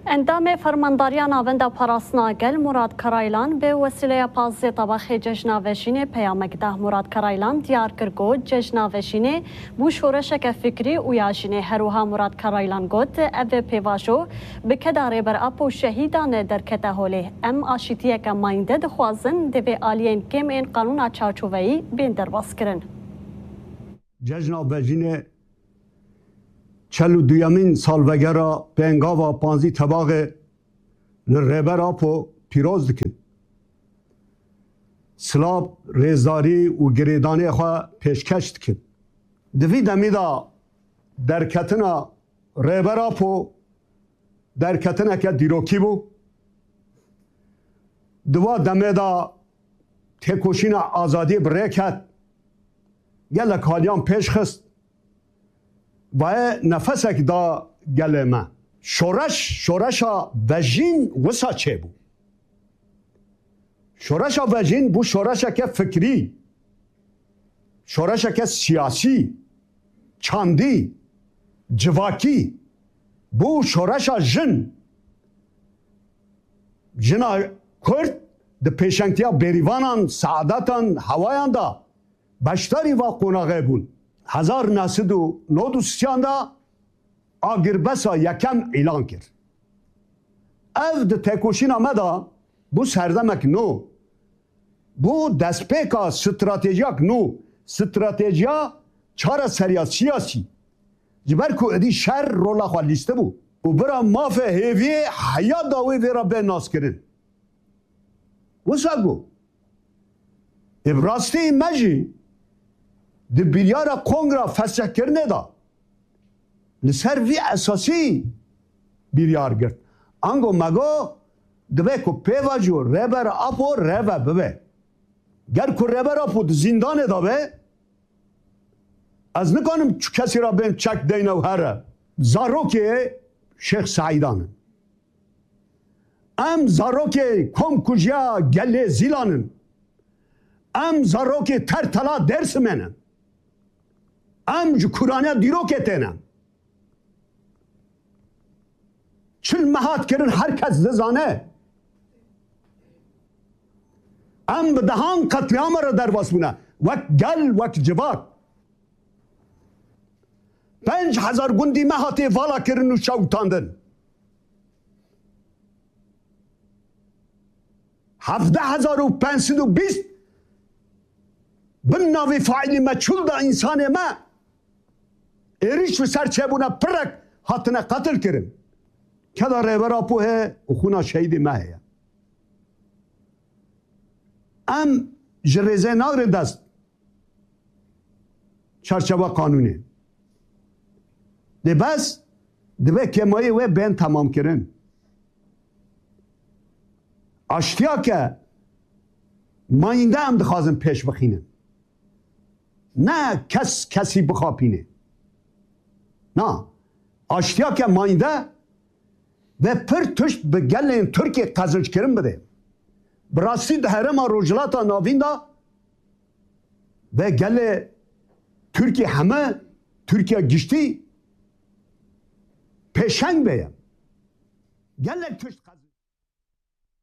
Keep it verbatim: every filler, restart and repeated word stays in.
Endamê Fermandariya Navenda Parastina Gel Murat Karaylan bi wesîleya pazdeh Tebaxê Cejna Vejînê peyamek da. Murat Karaylan diyar kir ku Cejna Vejînê bû şoreşeke fikrî û ya jinê. Her wiha Murat Karaylan got, ev pêvajo bi keda Rêber Apo şehîdan derkete holê. Em aşîtiyeke mayînde dixwazin, divê aliyên kêm ên qanûna çarçoveyî bên derbas kirin. Cejna Vejînê çel û duyemîn salvegera pêngava panzdî Tebaxê li Rêber Apo pîroz dikin. Silav, rêzdarî û girêdanê xwe pêşkeş dikin. Di vî demî de derketina Rêber Apo derketineke dîrokî bû. Di wa demê de têkoşîna azadiyê bi rê ket. Gelek haliyan pêş xist. Vaye nefesek da gelê me. Şoreş, şoreşa vejîn wisa çêbû. Şoreşa vejîn bû şoreşeke fikrî, şoreşeke siyasî, çandî, civakî, bû şoreşa jin. Jina Kurd di pêşengtiya bêrîvanan, seadetan, hewayan de beşdarî va qonaxê bûn. Hezar neh sed û nod û sisiyan de agirbesa yekem îlan kir. Ev di têkoşîna me de bû serdemek nû. Bû destpêka stratejiyak nû, stratejiya çareseriya siyasî. Ji ber ku êdî şer rola xwe lîstibû û bira mafê hêviyê heya dawî vê re bê naskirin. Wisa got, ê bi rastî me jî di biryara kongra fesihkirinê de li ser vî esasî biryar girt. Ango me got, divê ku pêvajo Rêber Apo reve bibe. Ger ku Rêber Apo di zîndanê de be, ez nikanim çi kesî re bêm çek deyne û here. Zarokê Şêx Seîdan in. Em zarokê komkujiya gelê Zîlan in. Em zarokê Tertela Dêrsimê ne. Em ji kûraniya dîrokê têne. Çil me hat kirin, her kes dizane. Em bi dehan qetlîama re derbas bûne. Wek gel, wek civak. Pênc hezar gundî me hatiye vala kirin û şewitandin. Hevdeh hezar û pênc sed û bîst bin navê faîlî meçhûl de însanê me êrîş li ser çêbûne pirek hatine qetil kirin. Keda Rêber Apo heye û xûna şehîdê me heye. Em ji rêzê nagrin dest çarçewa qanûnê. Lê bes dibe kêmayê wê bên temamkirin. Aştiyake mayînde em dixwazin pêş bixînin. Ne kes kesî bixapîne. Na, aştiyake mayînde ve pir tişt bi gelên Tirkiyê qezinçkirin bide. Bi rastî di herêma Rojhilata Navîn de ve gelê Tirkiyê heme, Tirkiya giştî pêşeng be ye. Gelek tişt